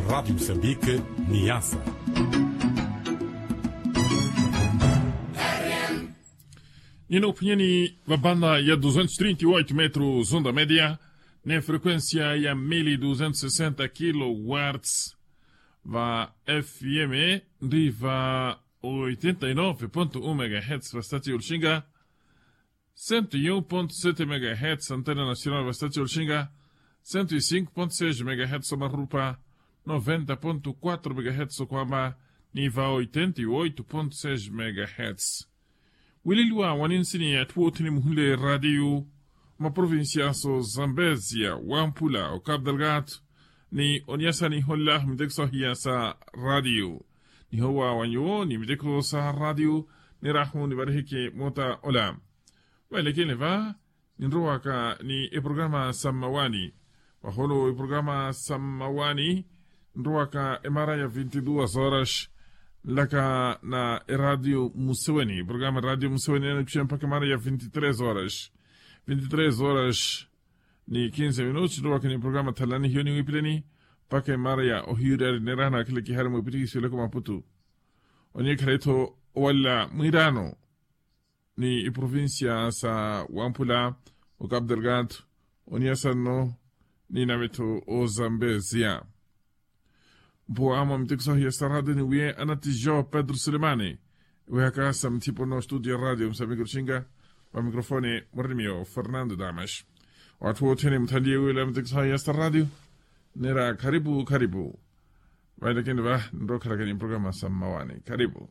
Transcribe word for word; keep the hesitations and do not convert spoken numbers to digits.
Rádio Moçambique, Niassa. Nina uphwanyani va banda ya duzentos trinta e oito metros onda média, ne frequência ya mil duzentos sessenta kilowatts, va F M ndi va oitenta e nove ponto um megahertz va state ya Lixinga, cento e um ponto sete megahertz antena nacional va state ya Lixinga, cento e cinco ponto seis megahertz omarupa, noventa ponto quatro megahertz okwamba, ni va oitenta e oito ponto seis megahertz. Wileliwa wa ninsini ya atthu othene muhunle radio, maprovincia so zambezia, wampula o cap delgado, ni oniasa ni hola mitekso hiya sa radio, ni howa wa nyuwo ni mitekso sa radio, ni rahu ni varihiki mota ola. Vailekene va, ninrowaka ni eprograma sa mmawani. Vaholo eprograma sa mmawani, nrowaka emara ya vinti duas horas, nlaka na eradio museweni eprograma eradio museweni ena nikuxiya mpakha emara ya vinti tres horas. Vinti tres horas, ni kinse minutos nrowaka ni eprograma thalani hiyo ni wipileni, mpakha emara ya ohiyuriyari neraha na akhilekihari mwepitiki siweleko maputu. Oniye khale-tho owalla mwirano, ni iprovincia sa wampula, o cap delgado, oniya sanno, ni nave-tho ozambezia. Mpuwa mwa mitekiso ahiya sa radio ni wiye anatijo pedro sulemani, ewehaka sa muthipo no studio ya radio musambiki oxinga, va microfone mwarini miyo fernando damas. Watthu wothene muthanliye wila mitekiso ahiya sa radio, nera kharipu kharipu. Vailekeni va nrokhalakeni programa sa mmawani kharipu.